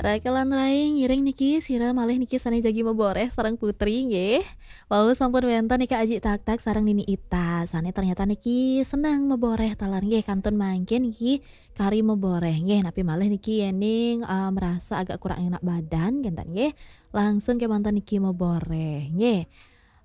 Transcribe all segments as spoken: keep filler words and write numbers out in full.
Rakelan rai, ngiring niki sira malih niki sané jagi maboreh sareng Putri nggih. Wau sampun wénten niki Aji Taktak sareng Nini Ita. Sané ternyata niki seneng maboreh taler nggih, kantun mangkin niki kari maboreh nggih. Napi malih niki yéning, eh, merasa agak kurang enak badan kénten nggih. Langsung kémanten niki maboreh nggih.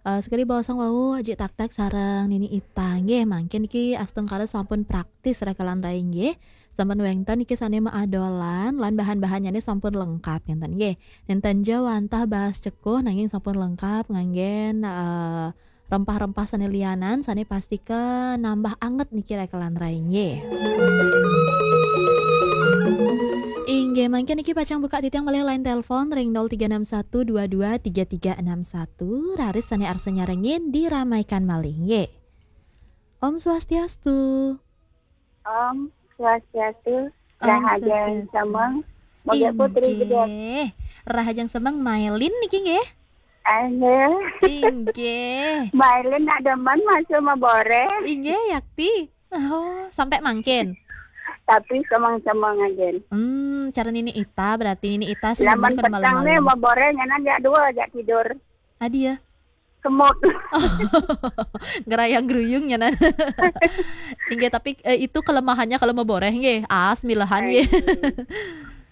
Eh, sekadi baosang wau Aji Taktak sareng Nini Ita nggih, mangkin niki astungkara sampun praktis rakelan rai nggih. Sampun wénten niki sané maadolan lan bahan-bahannyané sampun lengkap kénten nggih. Nénten ja wantah baas cekuh nanging sampun lengkap nganggén, eh, rempah-rempah sané lianan sané pastika nambah anget niki rakelan rai nggih. Inggih, mangkin niki pacang buka titiang malih line telepon ring nol tiga enam satu dua dua tiga tiga enam satu, raris sané arsa nyarengin diramaikan malih nggih. Om Swastiastu. Om Swastiastu. Om Rahajeng Swastiastu. Semeng. Moga Putri gedé. Inggih. Rahajeng semeng Mailin niki nggih. Ayo. Inggih. Mailin nak demen masuk maboreh. Inggih, yakti. Oh, sampai mangkin. Tapi semeng-semeng aja. Hmm, cara Nini Ita, berarti Nini Ita semeng. Lamun kada petang nih malam-malam. Maboreh nyanan jak dua, jak tidur. Adi ya. Semut. Ngerayang-geruyung nyanan. Inggih, tapi, eh, itu kelemahannya kalau maboreh nggih. As milahan nggih. Ayo.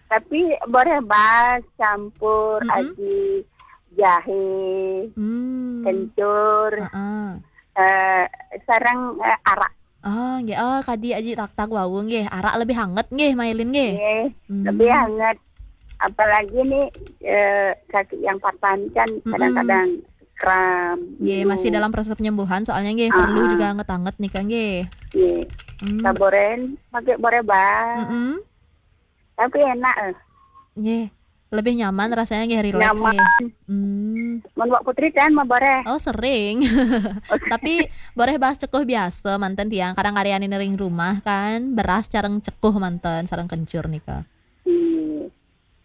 Tapi boreh baas campur, mm-mm, aji jahe, hmm, kencur, heeh, eh, sareng, eh, arak. Oh, nggih. Oh, kadi Aji Taktak wau nggih. Arak lebih hangat nggih, Mailin nggih. Nggih, hmm, lebih hangat. Apalagi nih, eh, kaki yang patah ini kan, mm-mm, kadang-kadang kram, nggih, ngilu. Masih dalam proses penyembuhan, soalnya nggih, perlu, ah, ah, juga anget-anget nih, Kak, nggih. Nggih. Hmm. Saboren, pakai boreh baas. Mm-mm. Tapi enak, eh. Nggih. Lebih nyaman rasanya nggih, relax nyaman. Nggih. Hmm. Mun Wak Putri kan maboreh. Oh, sering. Tapi boreh baas cekuh biasa manten tiang. Kadang ngarianin ring rumah kan, beras sareng cekuh manten, sareng kencur nika. Hmm.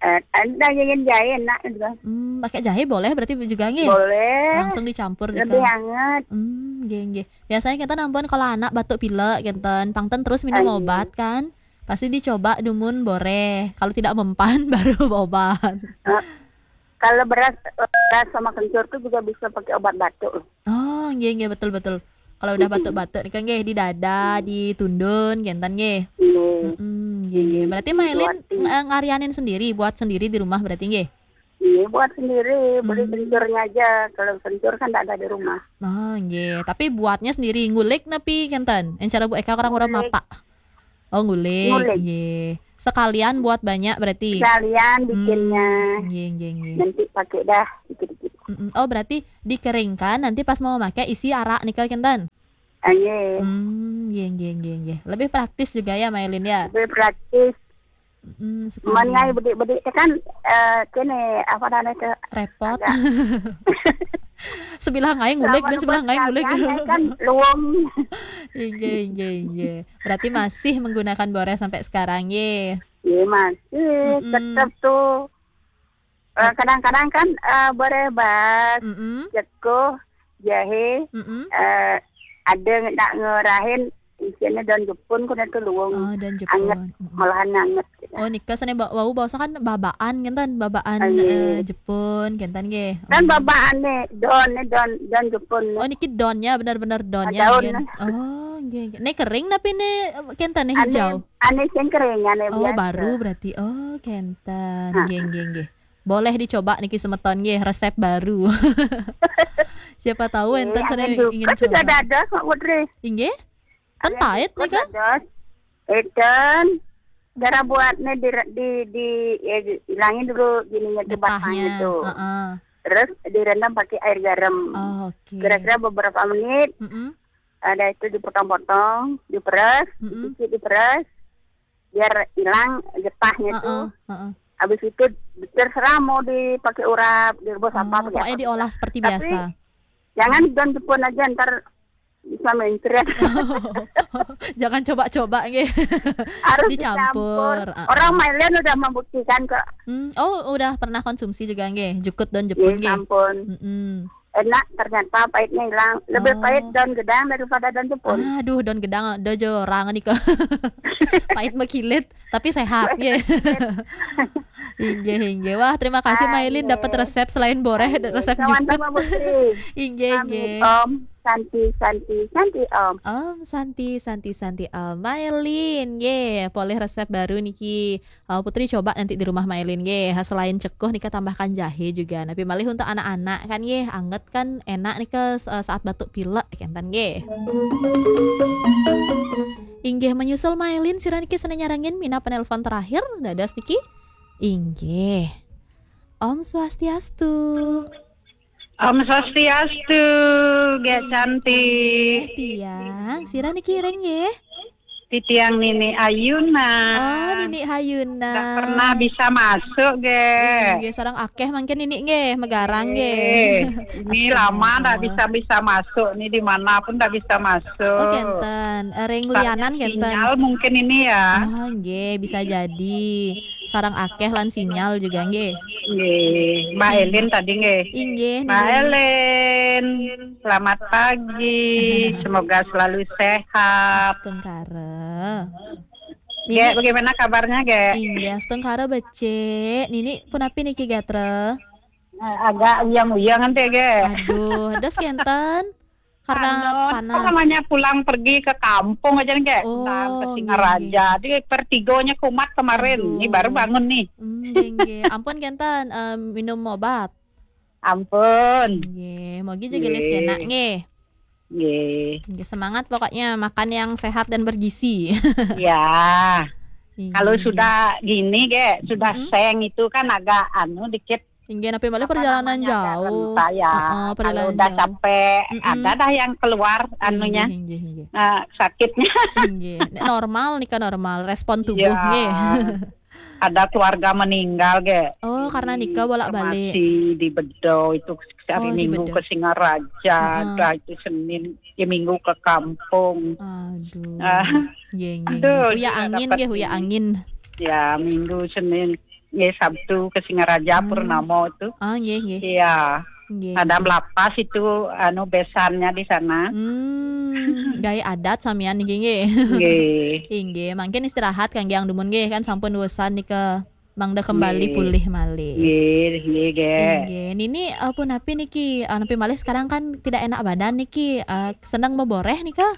Eh, ada yang jahe enak juga. Hmm, pakai jahe boleh berarti juga nggih? Boleh. Langsung dicampur nika. Lebih hangat. Hmm, nggih, nggih. Biasanya kita nampuan kalau anak batuk pilek gitu, pangten terus minum, ayo, obat kan. Pasti dicoba dumun boreh. Kalau tidak mempan, baru obat. Eh, kalau beras, beras sama kencur tuh juga bisa pakai obat batuk loh. Oh, nggih, nggih, betul, betul. Kalau udah, mm-mm, batuk-batuk nih kan nggih, di dada, mm, di tundun, kénten nggih. Nggih. Mm-mm, nggih, nggih. Berarti Mailin, buat, ng-, eh, ngarianin sendiri, buat sendiri di rumah berarti nggih? Iya, buat sendiri, beli, hmm, kencurnya aja. Kalau kencur kan nggak ada di rumah. Oh, nggih. Tapi buatnya sendiri, ngulik napi kénten? Yang cara Bu Eka orang-orang, ngulik, mapak. Oh, ngulik. Ngulik. Nggih. Sekalian buat banyak berarti? Sekalian bikinnya. Hmm, nggih, nggih, nggih. Nanti pakai dah dikit-dikit. Mm-mm. Oh, berarti dikeringkan, nanti pas mau pakai isi arak nika kénten? Ah, nggih. Hmm, nggih, nggih, nggih, nggih. Lebih praktis juga ya, Mailin ya? Lebih praktis. Mm, sekali. Man ngai bedik-bedik teh kan, eh, kene, apa namanya teh? Repot. Agak sebilah ngai ngulik, lamun dan sebilah ngai ngulik. Sekalian, ngai kan luwung. Inggih, inggih, inggih. Berarti masih menggunakan boreh sampai sekarang, nggih? Iya, masih. Mm-mm. Tetap tuh. Eh, kadang-kadang kan, eh, boreh baas, mm-mm, cekuh, jahe, mm-mm, eh, ada nak ngerahin isinya daun jepun, kena tuh luwung. Oh, daun jepun. Anget, mm-mm, malahan anget gitu. Oh, nika sané ba-, wau baosa kan babaan, kénten, babaan, ah, nggih, eh, jepun, kénten nggih. Kan, hmm, babaan nih, daun nih, daun, daun jepun nih. Oh, niki daunnya, benar-benar daunnya, ah, daun, nggih. Oh, nggih, nggih. Nih kering tapi nih, kénten nih, ané hijau? Ané sing kering, ané, oh, biasa. Baru berarti. Oh, kénten. Ha. Nggih, nggih, nggih. Boleh dicoba niki semeton nggih, resep baru. Siapa tahu, eh, énten sané ingin coba. Kan sudah ada, Kak Putri. Inggih? Kan pait nika. Dados. Énten, cara buatnya di, di, di, ya, hilangin dulu gininya tuh, getahnya, batangnya tuh. Heeh. Terus direndam pakai air garam. Oh, oke. Kira-kira beberapa menit, mm-mm, ada itu dipotong-potong, diperes, mm-mm, sedikit diperes, biar hilang getahnya, heeh, tuh. Heeh. Habis itu terserah mau dipakai urap, direbus apa, oh, pakai apa, pokoknya diolah seperti biasa. Tapi jangan daun jepun aja, ntar bisa mencret. Jangan coba-coba nggih. Harus dicampur. Dicampur. Heeh. Orang Mailin udah membuktikan kok. Hmm, oh, udah pernah konsumsi juga nggih, jukut daun jepun nggih? Iya, sampun. Mm-mm. Enak ternyata, pahitnya hilang. Lebih pahit daun gedang daripada daun jepun. Oh. Aduh, daun gedang, dojo orang nih kok. Pahit makilit, tapi sehat, nggih. Inggih, inggih. Wah, terima kasih Mailin dapat resep selain boreh, resep jukut. Sama-sama, Putri. Inggih, inggih. Om Santi, Santi, Santi, Om. Om Santi, Santi, Santi, Om. Mailin, nggih, polih resep baru niki. Eh, Putri coba nanti di rumah Mailin, nggih. Selain cekuh nika tambahkan jahe juga. Napi malih untuk anak-anak kan, nggih, anget kan enak nika, eh, saat batuk pilek, kenten, nggih. Inggih, menyusul Mailin, sira niki sane nyarengin minab penelpon terakhir, dados niki. Inggih. Om Swastiastu. Om Swastiastu, Gék Santi. Eh, tiang, sira niki ring nggih? Titiang Nini Ayuna. Oh, Nini Ayuna. Ndak pernah bisa masuk, Gék. Nggih, sareng akeh mangkin Nini nggih, megarang nggih. Eh, ini lama ndak bisa-bisa masuk nih, di mana pun ndak bisa masuk. Oh, kenten. Eh, ring lianan kenten. Sinyal mungkin ini ya. Ah, nggih, bisa jadi. Sareng akeh lan sinyal juga nggih. Nggih, Mbak Elin tadi nggih. Inggih, Mbak Elin, selamat pagi. Semoga selalu sehat. Astungkara. Gék, bagaimana kabarnya, Gék? Inggih, astungkara becik. Nini punapi niki, Gatra? Eh, agak uyang-uyang nanti, Gék. Aduh, dos kenten. Karena panas. Apa namanya, pulang pergi ke kampung aja nih, Gék. Oh, pulang ke Singaraja. Di Pertigonya kumat kemarin. Aduh. Ini baru bangun nih. Hmm, nggih, nggih. Ampun kenten, eh, minum obat. Ampun. Nggih, mogi jaga les kena nggih. Nggih. Nggih, semangat pokoknya, makan yang sehat dan bergizi. Ya. Nggih, kalau sudah gini, Gék, sudah seng itu kan agak anu dikit. Inggih, napi malih perjalanan jauh. Heeh, perjalanan jauh. Kalau udah sampai ada dah yang keluar anunya. Inggih, inggih, inggih. Eh, sakitnya. Inggih. Nek normal nika normal, respon tubuh nggih. Ada keluarga meninggal, Gék. Oh, karena nika bolak-balik. Masih di Bedo itu hari Minggu ke Singaraja, dah itu Senin, ya Minggu ke kampung. Aduh. Ah. Nggih, nggih, aduh, nggih. Huya angin nggih, huya angin. Ya, Minggu, Senin, ya Sabtu ke Singaraja, Purnama itu. Ah, nggih, nggih. Iya. Nggih, ada nggih. Melapas itu, anu, besannya di sana. Hmm, gawe adat samian niki nggih. Nggih. Inggih, mangkin istirahat kangge ang dumun nggih, kan sampun wesan nika. Mangda kembali pulih malih. Nggih, nggih, Gék. Inggih. Nini, eh, punapi niki, eh, napi malih sekarang kan tidak enak badan niki, eh, seneng meboreh nika?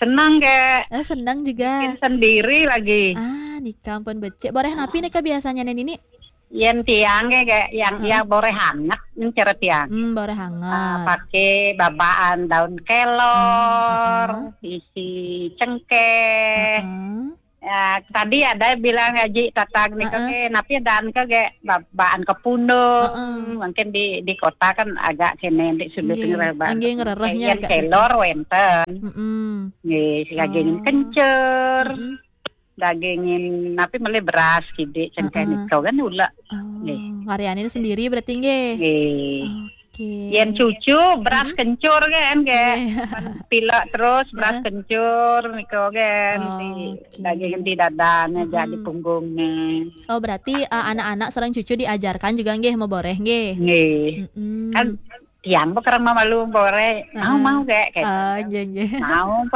Seneng, Gék. Eh, seneng juga. Bikin sendiri lagi. Ah, nika ampun becik. Boreh napi nika biasanya, Nini? Yen tiang, Gék, Gék, yang, yang boreh anget, nih cara tiang. Hmm, boreh anget. Ah, pakai babaan daun kelor, isi cengkeh. Heeh. Ya, tadi ada bilang Haji Tatang nika ke, napi dan ke, Gék, babaan kepundung. Heeh. Mungkin di, di kota kan agak kene di sudut ngereh. Nggih, ngererehnya agak kelor wenten. Mm-mm. Nggih, daging kencur. Mm-mm. Dagingin, napi malih beras kidik, cengkeh nika kan ula. Oh, nggih. Ngaryanin sendiri berarti nggih? Nggih. Oke. Yen cucu beras kencur kan, Gék. Nggih. Pilek terus beras kencur nika kan. Oh, di daging di dadane, jadi punggungnya. Oh, berarti, eh, anak-anak sareng cucu diajarkan juga nggih meboreh nggih? Nggih. Mm-mm. Kan tiang kok kereng mamalu boreh. Mau, mau, Gék, gitu. Ah, nggih, nggih. Mau.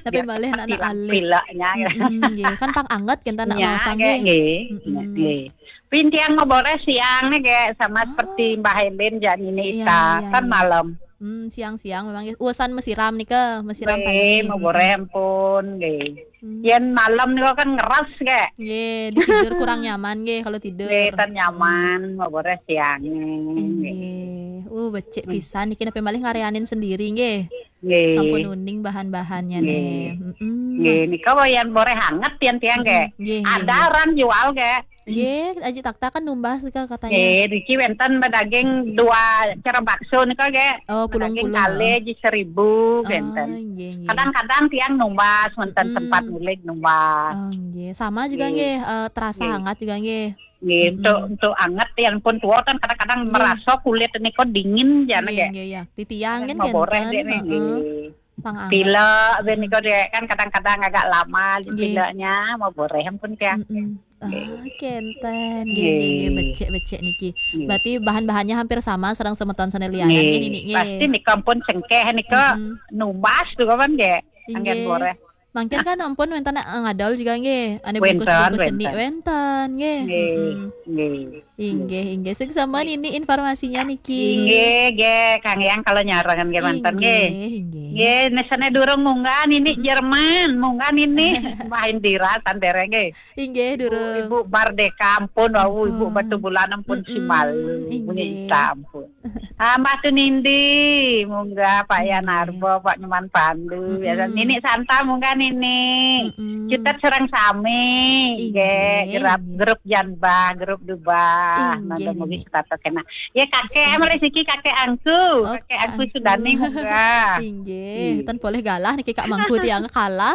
Tapi malih anak-anak alih. Pilek-pileknya, gitu. Mm-mm, nggih. Kan pang anget kan anak maosang, Gék, nggih. Mm-mm. Nggih. Pin tiang mau boreh siang nih, Gék, sama seperti Mbah Elin, jak Nini Ita. Iya, iya. Kan malam. Hmm, siang-siang memang, nggih. Uesan mesiram nika, mesiram pagi. Nggih, mau boreh ampun, nggih. Hmm. Yen malam nika kan ngeras, Gék. Nggih, ditidur kurang nyaman nggih kalau tidur. Nggih, tan nyaman, mau boreh siang. Nggih. Uh, becik pisan niki, napi malih ngaryanin sendiri nggih. Nggih. Sampun uning bahan-bahannya nih. Mm-mm. Nggih, nika yen boreh anget yen tiang, Gék. Nggih, nggih, nggih. Ada orang jual, Gék. Nggih, Aji Takta kan numbas nika katanya. Nggih, niki wenten daging dua cara bakso nika, Gék. Oh, pulung-pulung. Daging kalih ji seribu wenten. Oh, nggih, nggih. Kadang-kadang tiang numbas, wenten sempat ngulig numbas. Oh, nggih. Sama juga nggih, eh, terasa hangat juga nggih. Nggih, untuk, untuk anget ya ampun tua kan kadang-kadang merasa kulit nika dingin jane, Gék. Nggih, nggih, ya. Titiang kan mau boreh, Gék, heeh. Nggih. Pang anget. Pilek, ben nika, Gék, kan kadang-kadang agak lama pileknya, mau boreh ampun tiang. Mm-mm. Ah, kenten. Nggih, nggih, nggih, becik, becik niki. Nggih. Berarti bahan-bahannya hampir sama sareng semeton sane lianan nggih, niki, nggih. Pasti nika ampun cengkeh nika numbas tuh kapan, Gék? Anggen boreh. Mangkin kan ampun wénten, eh, ngadol juga nggih. Ané bungkus-bungkus cenik wénten nggih. Nggih, nggih. Inggih, inggih. Sing sampun ini informasinya niki. Inggih, nggih, Kang Yang kalau nyarengan nggih manten nggih. Inggih, inggih. Nggih, nesane durung munggah nini Jerman, munggah nini. Main dira tandere nggih. Inggih, durung. Ibu Mardeka ampun wau, Ibu Batubulan ampun simal. Bunyi ita ampun. Ah, Mbah Tunindi, munggah Pak Yan Arbo, Pak Nyoman Pandu, ya kan? Nini Santa munggah nini. Cutet sareng sami. Inggih, grup, grup Janbah, grup Dubah. Inggih, nanda mugi nini. Setato kena. Ya kakek, mulai siki kakek angku. Oh, kakek angku Sudani munggah. Inggih, ten boleh galah niki Kak Mangku tiang kalah.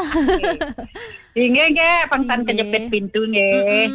Inggih, nggih, pangtan kejepit pintu nggih.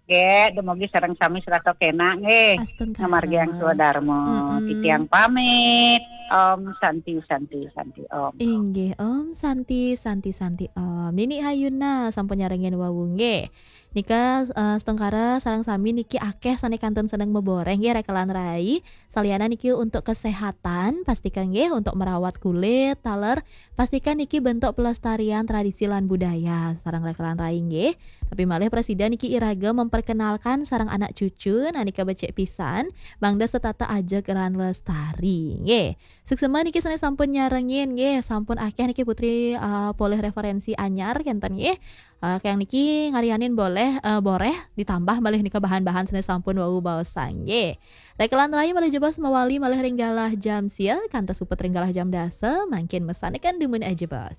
Nggih, dumugi sareng sami serato kena nggih. Astungkara. Ngamargiang swadarma. Titiang pamit. Om Santi, Santi, Santi, Om. Inggih, Om Santi, Santi, Santi, Om. Nini Hayuna sampun nyarengin wau nggih. Nika, eh, astungkara sareng sami niki akeh sane kantun seneng meboreh nggih rekelan rai. Saliana niki untuk kesehatan, pastikan nggih untuk merawat kulit, taler, pastikan niki bentuk pelestarian tradisi lan budaya sareng rekelan rai nggih. Tapi malih presiden niki iraga memperkenalkan sareng anak cucu, nah nika becik pisan, mangda setata ajeg lan lestari nggih. Suksema niki sane sampun nyarengin nggih, sampun akeh niki Putri, eh, polih referensi anyar kenten nggih. Eh, kayang niki ngarianin boleh, eh, boreh ditambah malih nika bahan-bahan sane sampun wau baosang nggih. Rekelan rai malih jebos mawali malih ring galah jam sia, kantos puput ring galah jam dasa, mangkin mesanekan dumun aja bos.